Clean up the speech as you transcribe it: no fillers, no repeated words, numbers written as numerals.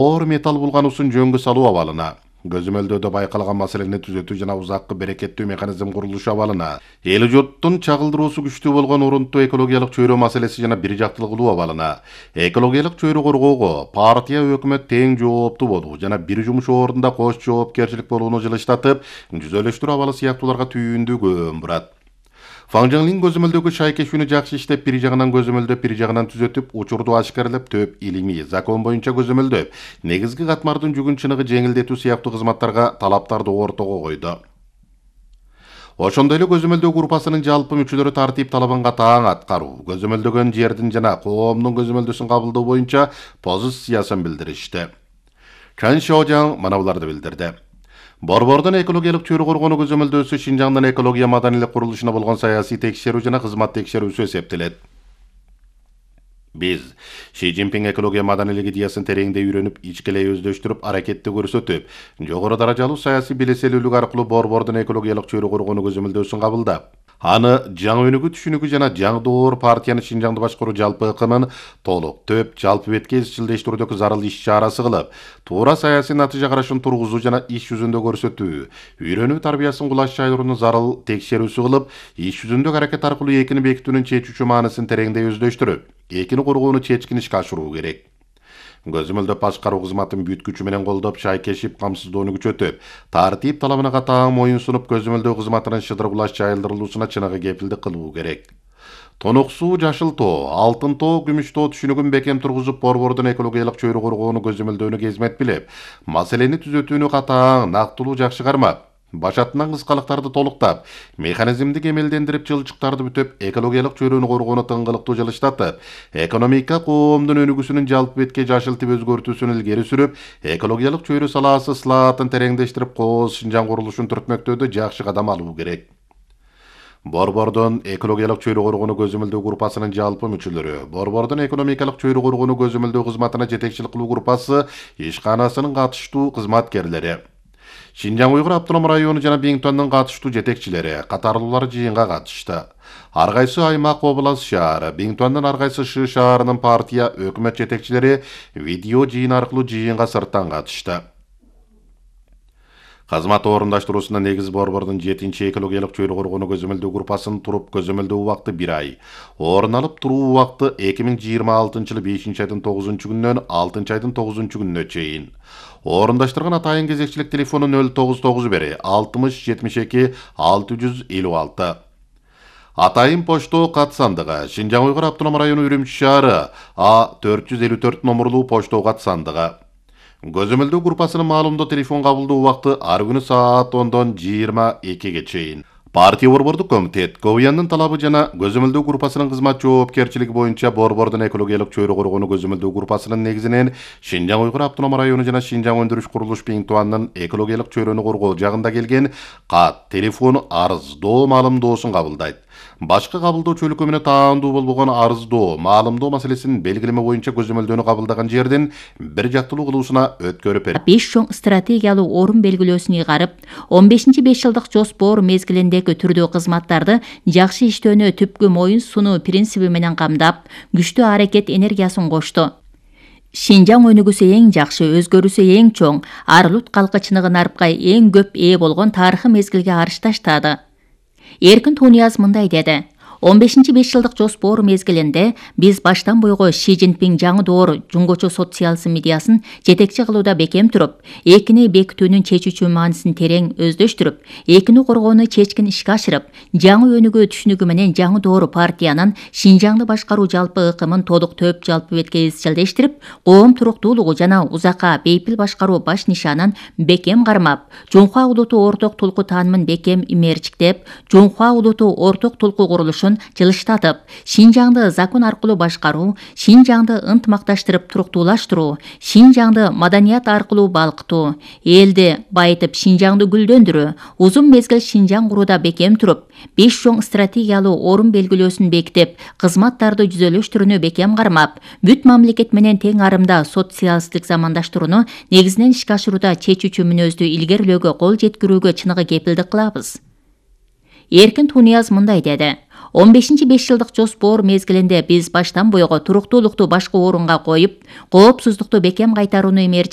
Оор металл булгануусун жөнгө салуу абалына, көзөмөлдөөдө байкалган маселени түзөтүү жана узаккы берекеттүү механизм курулушу абалына, эл журттун чагылдыруусу күчтүү болгон урунттуу экологиялык чөйрө маселеси жана бир жактылык кылуу абалына, экологиялык чөйрө коргоого партия өкмөт тең жооптуу болуу жана бир жумуш ордунда кош жоопкерчилик болууну жылыштатып, жүзөлөштүрүү абалы сыяктууларга түйүндүү көң бурат. Фаң Жаңлин көзөмөлдөгү шайкешүүнү жакшы иштеп, бир жагынан көзөмөлдөп, бир жагынан түзөтүп, учурду ашкарлап, төп илимий, закон боюнча көзөмөлдөп, негизги катмардын жүгүн чыныгы жеңилдетүү сыяктуу кызматтарга талаптарды ортого койду. Ошондой эле көзөмөлдөө группасынын жалпы мүчөлөрү тартип талабын катаң аткаруу, көзөмөлдөгөн жердин жана коомдун көзөмөлдөсүн кабылдоо боюнча позициясын билдиришти. Чан Шожаң мына буларды билдирди. Борбордун экологиялык чөйрө коргонуу көзөмөлдөөсү Шинжаңдын экология маданийлик курулушуна болгон саясий текшерүү жана кызмат текшерүүсү эсептелет. Биз Ши Цзиньпин экология маданийлик идеясын тереңдей үйрөнүп, ичкелей өздөштүрүп, аракетти көрсөтүп, жогору даражалуу саясий белеселүүлүк аркылуу борбордун экологиялык чөйрө коргонуу көзөмөлдөөсүн кабылдап, аны жаңы өнүгүү түшүнүгү жана жаңы доор партиянын Шинжаңды башкаруу жалпы ыкымын толук, төп, жалпы бетке изчилдештирүүдөгү зарыл иш чарасы кылып, туура саясий натыйжа карашын тургузуу жана иш жүзүндө көрсөтүү, үйрөнүү тарбиясын кулаш жайдырууну зарыл текшерүүсү кылып, иш жүзүндөгү аракет аркылуу экини бекитүүнүн чечүүчү мааниsin тереңдей өздөштүрүп, экини коргоону чечкин ишке ашыруу керек. Көзөмөлдөп башкаруу кызматын бүт күчү менен колдоп, шайкешип, камсыздоону күчөтүп, тартип талабына катаң моюн сунуп, көзөмөлдөө кызматынын шыдыр кулаш жайылдырылуусуна чыныгы кепилдик кылуу керек. Тонок суу, жашыл тоо, алтын тоо, күмүш тоо түшүнүгүн бекем тургузуп, борбордун экологиялык чөйрө коргоону көзөмөлдөөнү кезмет билип, маселени түзөтүүнү катаң, нактылуу жакшы кармап, башатынан кыскалыктарды толуктап, механизмди кемелдендирип, жылчыктарды бүтөп, экологиялык чөйрөнү коргоону тыңгылыктуу жылыштатып, экономика коомдун өнүгүүсүнүн жалпы бетке жашылтып өзгөртүүсүн илгери сүрүп, экологиялык чөйрө салаасы ысылаатын тереңдештирип, кооз Шинжаң курулушун түртмөктөөдө жакшы кадам алуу керек. Борбордун экологиялык чөйрө коргоону көзөмөлдөө группасынын жалпы мүчөлөрү, борбордун экономикалык чөйрө коргоону көзөмөлдөө кызматына жетекчилик кылуу группасы ишканасынын катыштуу кызматкерлери, Шинжаң Уйгур автоном району жана Биңтуандын катыштуу жетекчилери, катарлуулар жыйынга катышты. Ар кайсы аймак, область, шаар, Биңтуандын ар кайсы шы шаарынын партия, өкмөт жетекчилери видео жыйын аркылуу жыйынга сырттан катышты. Кызмат орундаштыруусунда негиз борбордун 7-чи экологиялык чөйрө коргоону көзөмөлдөө группасынын туруп көзөмөлдөө убакыты 1 ай, орун алып туруу убакыты 2026-жылы 5-айдын 9-күнүнөн 6-айдын 9-күнүнө чейин. Орундаштырган атайын кезекчилик телефону 099 60 72 656. Атайын почтоо кат сандыгы, Шинжаң Уйгур автоном району Үрүмчү шаары, А 454 номерлуу почтоо кат сандыгы. Көзөмөлдөө группасынын маалымдоо телефон кабылдоо убакыты ар күнү саат 10-дон 22-ге чейин. Партия борбордук комитет КВЯндын талабы жана көзөмөлдөө группасынын кызмат жоопкерчилиги боюнча борбордун экологиялык чөйрө коргоону көзөмөлдөө группасынын негизинен Шинжаң Уйгур автоном району жана Шинжаң өндүрүш курулуш Биңтуандын экологиялык чөйрөнү коргоо жагында келген кат, телефон, арыздоо маалымдоосун кабылдайт. Башка кабылдоочу менен таандуу болбогон арыздоо, маалымдоо маселесин белгилеме боюнча көзөмөлдөөнү кабылдаган жерден бир жактылуу кылуусуна өткөрүп берет. 5 чоң стратегиялуу орун белгилөөсүн ыйгарып, 15-5 жылдык жоспор мезгилиндеги түрдүү кызматтарды жакшы иштөөнү түпкү моюн сунуу принциби менен камдап, күчтүү аракет энергиясын кошту. Шинжаң өнүгүүсү эң жакшы, өзгөрүүсү эң чоң, Арлут калкычыныгы нарпка эң көп ээ болгон тарыхый мезгилге арыш таштады. Эркин Тунияз мындай деди: 15-5 жылдык жоспор мезгилинде биз баштан бойго Ши Цзиньпин жаңы доор жуңгочу социализм идеясын жетекчи кылууда бекем туруп, экини бекитүүнүн чечүүчү маанисин терең өздөштүрүп, экини коргоону чечкин ишке ашырып, жаңы өнүгүү түшүнүгү менен жаңы доор партиянын Шинжаңды башкаруу жалпы ыкымын толук төп жалпы бетке изчилдештирип, коом туруктуулугу жана узакка бейпил башкаруу баш нишанын бекем кармап, Жунхуа улуту орток тулку таанымын бекем имээрчиктеп, Жунхуа улуту орток тулку курулушун жылыштатып, Шинжаңды закон аркылуу башкаруу, Шинжаңды ынтымакташтырып туруктуулаштыруу, Шинжаңды маданият аркылуу балкытуу, элди байытып Шинжаңды гүлдөндүрүү, узун мезгил Шинжаң курууда бекем туруп, 5 чоң стратегиялуу орун белгилөөсүн бекитип, кызматтарды жүзөлөштүрүүнү бекем кармап, бүт мамлекет менен тең арымда социалисттик замандаштырууну негизинен ишке ашырууда чечүүчү мүнөздү илгерилөөгө кол жеткирүүгө чыныгы кепилдик кылабыз. Эркин Тунияз мындай деди: 15 5 жылдык жоспор мезгилинде биз баштан буйга туруктуулукту башкы орунга коюп, коопсуздукту бекем кайтарууну эмерчик